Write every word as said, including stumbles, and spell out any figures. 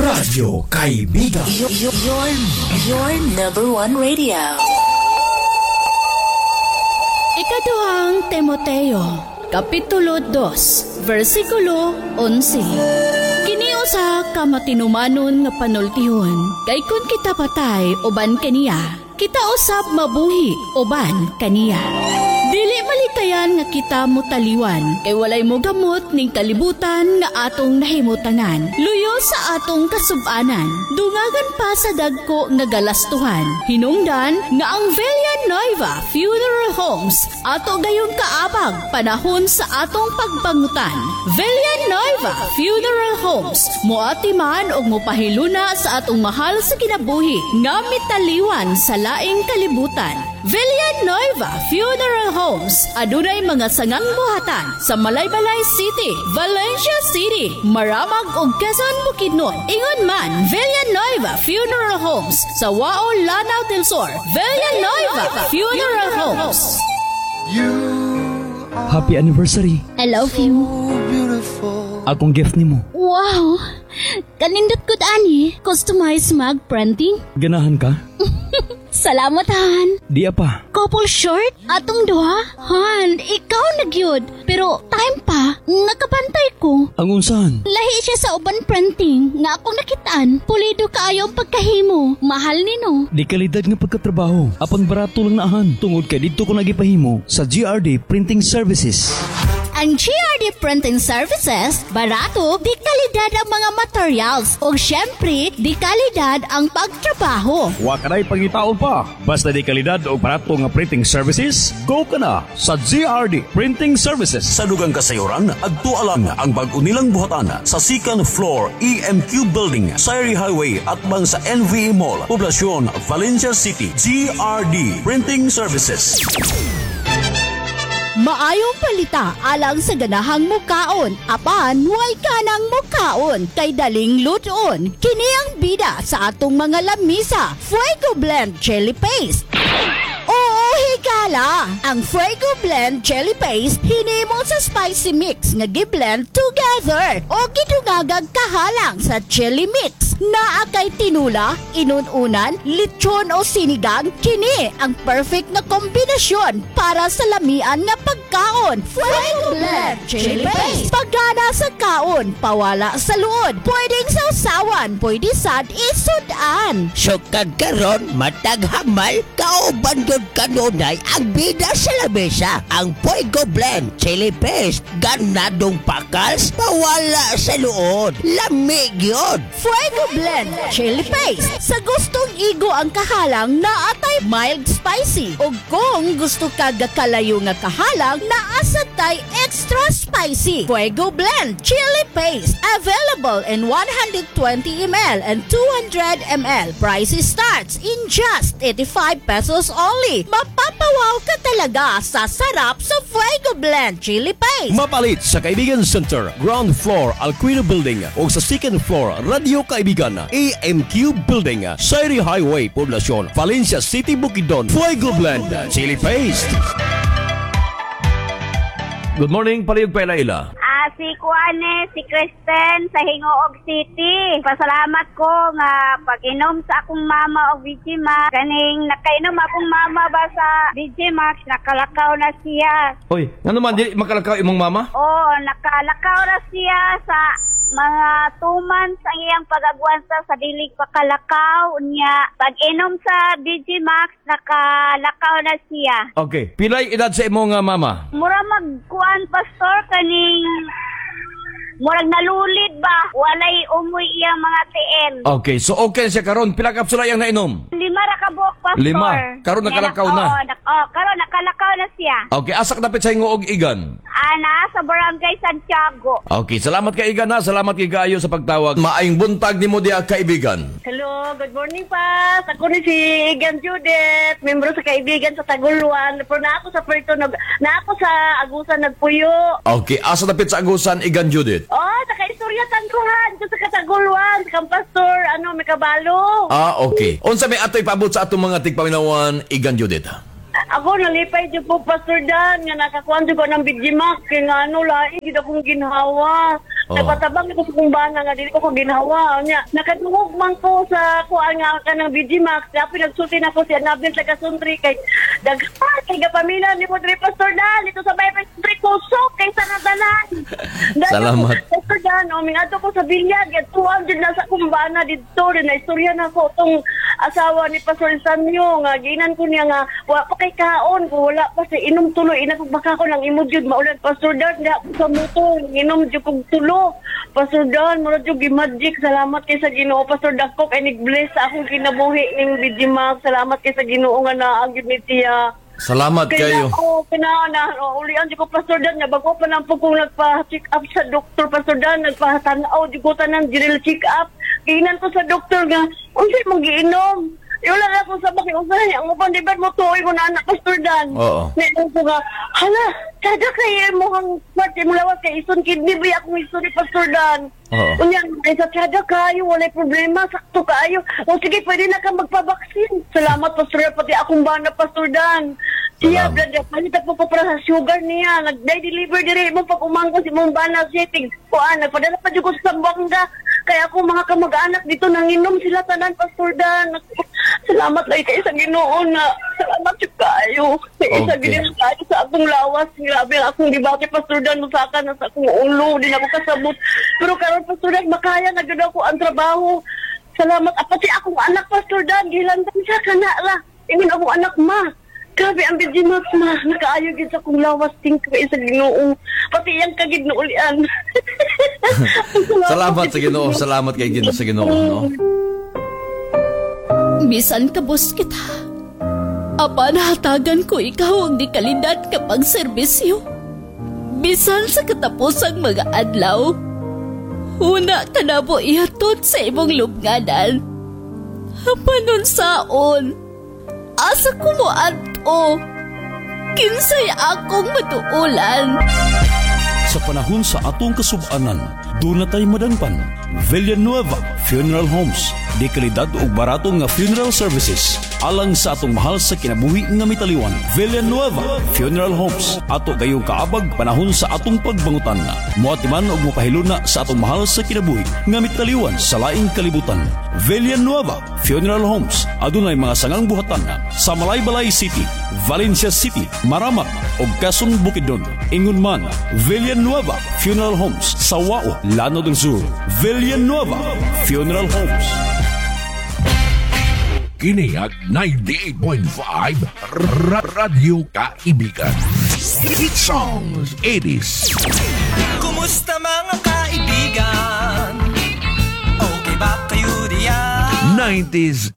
Radyo Kaibigan. Your, your, your, your number one radio. Ikaduhang Timoteo, Kapitulo dos, versikulo onse. Kini usa ka matinumanon nga panultihon, kay kun kita patay uban kaniya, kita usab mabuhi uban kaniya. Dili malikayan nga kita mutaliwan, kay walay mogamot ning kalibutan nga atong nahimutangan. Luyo sa atong kasubanan, dungagan pa sa dagko nga galastuhan. Hinungdan nga ang Villanueva Funeral Homes ato gayong kaabag panahon sa atong pagbangutan. Villanueva Funeral Homes moatiman og mopahiluna sa atong mahal sa kinabuhi nga mitaliwan sa laing kalibutan. Villanueva Funeral Homes adunay mga sangang buhatan sa Malaybalay City, Valencia City, Maramag ug Quezon, Bukidnon. Ingon man Villanueva Funeral Homes sa Wao, Lanao del Sur. Villanueva Funeral Homes. Happy anniversary. I love you. Akong gift nimo. Wow! Kanindot gud ani. Customized mug printing. Ganahan ka? Salamat, Han. Di pa. Couple shirt? Atong duha? Han, ikaw na gyud. Pero time pa, nakabantay ko. Ang unsahan? Lahi siya sa uban printing nga akong nakitaan. Pulido kaayo ang pagkahimo. Mahal nino. Di kalidad nga pagkatrabaho. Apan barato lang na, Han. Tungod kay didto ko nagipahimo sa G R D Printing Services. Ang G R D Printing Services, barato, di kalidad ang mga materials. O syempre, di kalidad ang pagtrabaho. Wa ka na'y pangitaon pa. Basta di kalidad o barato nga printing services, go ka na sa G R D Printing Services. Sa dugang kasayuran, adto lang ang bag-o nilang buhatan sa second floor E M Q Building, Sayri Highway at bang sa N V A Mall, Poblacion, Valencia City. G R D Printing Services. Maayong palita alang sa ganahang mukaon, apan way kanang mukaon kay daling lutoon. Kini ang bida sa atong mga lamisa, Fuego Blend Chili Paste. Oo, higala! Ang Fuego Blend Chili Paste hinimo sa spicy mix nga giblend together o gidungagag kahalang sa chili mix. Naa kay tinula, inununan, lechon o sinigang, kini ang perfect na kombinasyon para sa lamian nga pagkaon. Fuego Blend Chili Paste. Pagana sa kaon, pawala sa luod. Pwedeng sausawan, pwede sad isudan. Sukad karon matag hamal, kauban gyud kanunay ang bida sa lamesa. Ang Fuego Blend Chili Paste, ganadong pakals, pawala sa luod. Lami gyud. Fuego Blend Chili Paste. Sa gustong igo ang kahalang, naa tay mild spicy. O kung gusto ka gakalayo nga kahalang, naa sad tay extra spicy. Fuego Blend Chili Paste. Available in one hundred twenty milliliters and two hundred milliliters. Price starts in just eighty-five pesos only. Mapapawaw ka talaga sa sarap sa Fuego Blend Chili Paste. Mapalit sa Kaibigan Center, ground floor, Alquino Building o sa second floor, Radio Kaibigan, A M Q Building, Sayri Highway, Poblacion, Valencia City, Bukidnon. Fuego Blend Chili Paste. Good morning, palihog paila-ila. Ah, si Kuane, si Kristen sa Gingoog City. Pasalamat ko nga pag-inom sa akong mama og V G Max. Kaning nakainom akong mama ba sa V G Max, nakalakaw na siya. Hoy, ngano man di makalakaw imong mama? Oo, nakalakaw na siya sa mga two months ang iyang pag-agwanta sa dili pakalakaw niya. Pag inom sa V G Max, nakalakaw na siya. Okay. Pilay edad sa imong nga mama? Mura magkuan, pastor, kaning murag nalulid ba, walay umoy iyang mga tiil. Okay, so okay siya karon. Pila kapsula iyang nainom? Lima ra ka buok, pastor. Lima. Karon nakalakaw na. Oo, nak- oh, karon nakalakaw na siya. Okay, asa ka dapit sa Gingoog, Igan? Ana sa Barangay Santiago. Okay, salamat kay Igan ha. Salamat kay kaayo sa pagtawag. Maayong buntag nimo diha, kaibigan. Hello, good morning, Pas. Ako ni si Igan Judith, membro sa Kaibigan sa Taguluan. Pero na ako sa Puerto, nag, na ako sa Agusan nagpuyo. Okay, asa dapit sa Agusan, Igan Judith? Oh, nakaistorya tanduhan ko sa Kataguluan, sa kang pastor, ano, may kabalo. Ah, okay. Unsa may atoy paabot sa atong mga tigpaminawan, Igan Judith? Ako, nalipay dyan po, Pastor Dan, nga nakakuan ko ng V G Max, kaya nga ano, lain, gid akong ginhawa. Oh. Nagpatabang ko sa kong bana nga dili ko ko ginhawa. Nya, nakadungog man ko sa kuan nga kanang B G Max. Dapat nagsulti na ko si Annabel taga Sundri kay daghan kay gapamilya ni mo diri, Pastor Dan, dito sa Bible Sundri, kusog kay sa natanan. Salamat. Pastor Dan, o mingadto ko sa bilyag, tuan jud na sa akong bana didto, din na istorya na ko tong asawa ni Pastor Sanyo nga ginan ko niya nga wa pa kay kaon ko, wala pa sa inom tuloy ina kog baka ko lang imo jud maulan, Pastor Dan, da ko sa motor inom jud kog tulo, Pastor Dan, mura jud gi-magic. Salamat kay sa Ginoo, Pastor, dako kay nig-bless sa akong kinabuhi ning B G Max. Salamat kay sa Ginoo nga naa gyud ni siya. Salamat Kaya kayo. ako, kina na, oh, ulian di ko, Pastor Dan, nga bago pa lang po kung nagpa-check up sa doktor, Pastor Dan, nagpa-tanaw, di ko tanan, general check up. Giinan ko sa doktor nga, unsay mong giinom? Eh, wala na ako sa bakit, unsay, ang upan, di ba mo tuoy ko na anak, Pastor Dan? Oo. Ngayon ko nga, hala, kada kay mo ang part, mo lawas kay ison kidney ba akong ison ni Pastor Dan? Oo. Unya, ay sa tsada kayo, walay problema, sakto kaayo. O sige, pwede na ka magpabaksin. Salamat, Pastor Dan, pati akong bana, Pastor Dan. Siya, Salamat. brother, palit po ko para sa sugar niya. Nag-deliver dire mo pag umangko si mong bana siya, tig kuan, nagpadala pa jud ko sa Zamboanga. Kaya ako mga kamag-anak dito nanginom sila tanan, Pastor Dan. Salamat lang kay sa Ginoo na salamat jud kaayo. Sa isa Okay. gid kaayo sa akong lawas, grabe ang akong gibati, Pastor Dan, musaka na sa akong ulo, di na ako kasabot. Pero karon, Pastor Dan, makaya na gyud ako ang trabaho. Salamat. Ah, pati akong anak, Pastor Dan, gilantan siya kana ra. Ingon akong anak, "Ma. Grabe ang B G Max, ma. Nakaayo gid sa akong lawas, thank you sa Ginoo." Pati iyang kagid na ulian. Salamat sa Ginoo, salamat kay Ginoo sa Ginoo, no? Bisan kabus kita. Apan hatagan ko ikaw ang di kalidad kapag serbisyo. Bisan sa katapusang mga adlaw. Una ka na mo ihatod sa imong lubnganan. Apan unsaon, asa ko mo adto? Kinsay akong matuulan? Sa panahon sa atong kasubanan, doon na tayo madangpan. Villanueva Funeral Homes. Di kalidad ug barato nga funeral services. Alang sa atong mahal sa kinabuhi nga mitaliwan. Villanueva Funeral Homes. Ato gayong kaabag panahon sa atong pagbangutan. Moatiman og mopahiluna sa atong mahal sa kinabuhi nga mitaliwan sa laing kalibutan. Villanueva Funeral Homes. Adunay mga sangang buhatan sa Malaybalay City, Valencia City, Maramag ug Quezon Bukidnon. Ingon man, Villanueva Funeral Homes sa Wao, Lanao del Sur. Villanueva Funeral Homes. Kini ang ninety-eight point five Ra- Radyo Kaibigan. Hit Songs eighties. Kumusta, mga kaibigan? Okay ba kayo diyan? nineties.